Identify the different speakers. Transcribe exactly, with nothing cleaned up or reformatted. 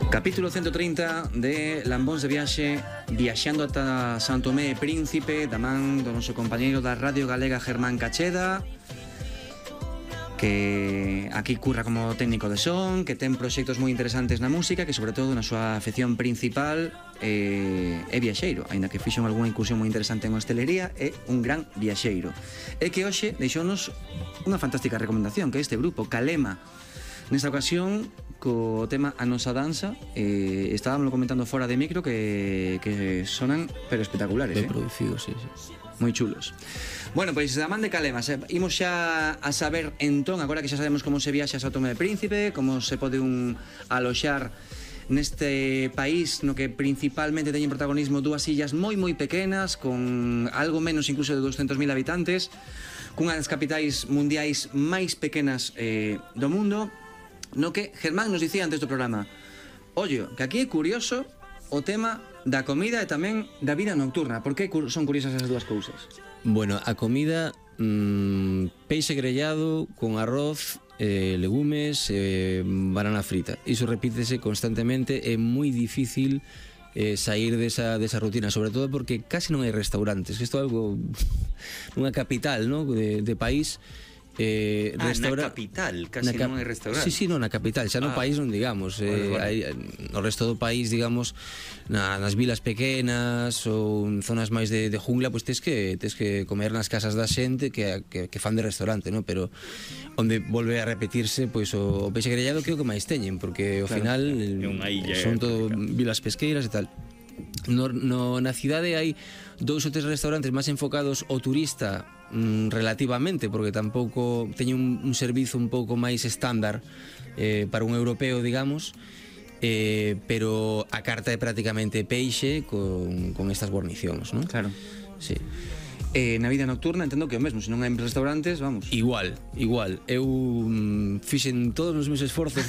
Speaker 1: Capítulo ciento trinta de Lambóns de Viaxe, viaxando ata San Tomé e Príncipe, da man do noso compañeiro da Radio Galega Germán Cacheda, que aquí curra como técnico de son, que ten proxectos moi interesantes na música, que sobre todo na súa afección principal é, é viaxeiro, aínda que fixo algunha incursión moi interesante en hostelería, é un gran viaxeiro. E que hoxe deixounos unha fantástica recomendación, que é este grupo, Calema. Nesta ocasión, co tema A Nosa Danza, eh, estábamos comentando fora de micro que, que sonan pero espectaculares.
Speaker 2: Ben
Speaker 1: eh?
Speaker 2: producidos, sí, sí.
Speaker 1: Moi chulos. Bueno, pois da man de Calema, se, imos xa a saber entón, agora que xa sabemos como se viaxa a São Tomé e Príncipe, como se pode un aloxar neste país no que principalmente teñen protagonismo dúas illas moi moi pequenas, con algo menos incluso de doscientos mil habitantes, cunha das capitais mundiais máis pequenas eh, do mundo, no que Germán nos dicía antes do programa: ollo, que aquí é curioso o tema da comida e tamén da vida nocturna. Por que son curiosas esas dúas cousas?
Speaker 2: Bueno, a comida, mmm, peixe grellado con arroz, eh, legumes, eh, banana frita. Iso repítese constantemente, é moi difícil eh, sair desa, desa rutina, sobre todo porque casi non hai restaurantes. Isto é algo nunha capital, ¿no? de, de país. Eh,
Speaker 1: ah,
Speaker 2: restaura...
Speaker 1: na capital, casi
Speaker 2: cap...
Speaker 1: non hai restaurante.
Speaker 2: Sí, sí, non, na capital, xa no ah. país non digamos, eh, bueno, bueno. Hai, no resto do país, digamos, na, nas vilas pequenas ou en zonas máis de, de jungla, pois pues tes que tes que comer nas casas da xente que, que, que fan de restaurante, ¿no? Pero onde volve a repetirse pois pues, o, o peixe grellado que é o que máis teñen, porque ao
Speaker 1: claro,
Speaker 2: final
Speaker 1: illa,
Speaker 2: son todo vilas pesqueiras e tal. No, no, na cidade hai dous ou tres restaurantes máis enfocados ao turista, mm, relativamente, porque tampouco teñen un, un servizo un pouco máis estándar eh, para un europeo, digamos, eh, pero a carta é prácticamente peixe con, con estas guarnicións, non?
Speaker 1: Claro.
Speaker 2: Sí.
Speaker 1: Eh, na vida nocturna entendo que o mesmo, se non hai restaurantes, vamos.
Speaker 2: Igual, igual. Eu mm, fixen todos os meus esforzos